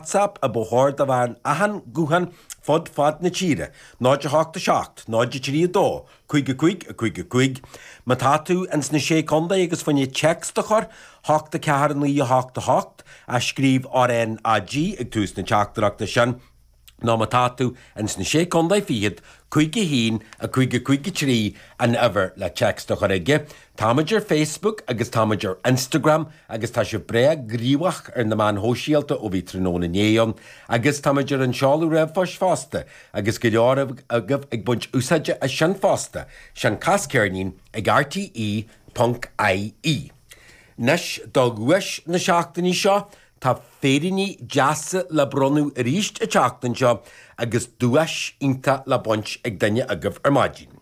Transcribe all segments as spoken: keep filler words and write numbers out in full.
WhatsApp a ba chóir do bheith in achan guthán fud fad na tíre, náid a hocht a seacht, náid a trí a dó, cúig a cúig, a cúig a cúig. Má tá tú ins na Sé Contae agus fá choinne téacs a chur, hocht a ceathair naoi a hocht a hocht, a scríobh RNAG ag tús na teachtaireachta sin, nó má tá tú ins na Sé Contae Fichead, cúig a haon, a cúig a cúig a trí an uimhir le téacs a chur aige. Táimid ar Facebook agus táimid ar Instagram agus tá sibh breá gníomhach ar na meáin shóisialta ó bhí tráthnóna inné ann, agus táimid ar an seoladh ríomhphoist fosta agus go leor agaibh ag baint úsáide as sin fosta, sin cas ceirnín ag RTE ponc IE. Anois do dhuais na seachtaine seo, tá féiríní deasa le bronnadh arís an tseachtain seo agus duais iontach le baint ag duine agaibh ar maidin.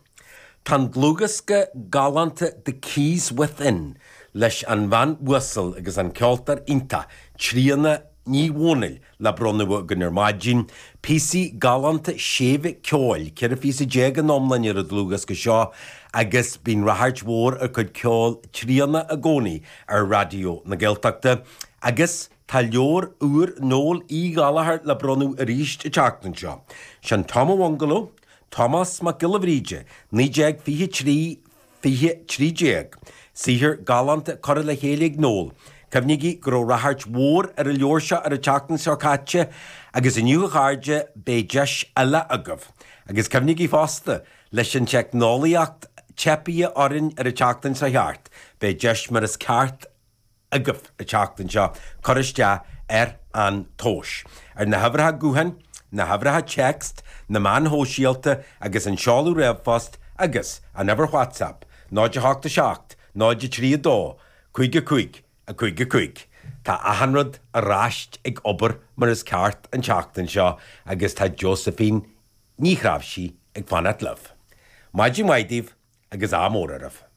Tá an dlúthdhiosca galánta The Keys Within leis an bhean uasal agus an ceoltóir iontach Tríona Ní Dhomhnaill le bronnadh againn ar maidin, píosaí galánta séimhe ceoil, ceithre phíosa déag in iomlán ar an dlúthdhiosca seo agus bíonn ráchairt mhór ar chuid ceoil Tríona i gcónaí ar Raidió na Gaeltachta agus tá leabhar úr Noel Uí Ghallchóir le bronnadh arís an tseachtain seo. Sin Tom an Bhungaló, Tomás Mac Giolla Bhríde, naoi déag fiche trí fiche trí déag. Saothar galánta curtha le chéile ag Noel. Cuimhnígí go raibh ráchairt mhór ar an leabhar seo ar an tseachtain seo caite agus inniu a chairde beidh deis eile agaibh. Agus cuimhnígí fosta leis an teicneolaíocht teipithe orainn ar an tseachtain seo thart, beidh deis mar is ceart agaibh an tseachtain seo cur isteach ar an tomhas. Ar na huimhreacha gutháin, na huimhreacha téacs, na meáin shóisialta agus an seoladh ríomhphost agus an uimhir WhatsApp, náid a hocht a seacht, náid a trí a dó, cúig a cúig, a cúig a cúig. Tá achan rud ar ais ag obair mar is ceart an tseachtain seo agus tá Josephine Ní Chráimhsí ag fanacht libh. Maidin mhaith daoibh agus ádh mór oraibh.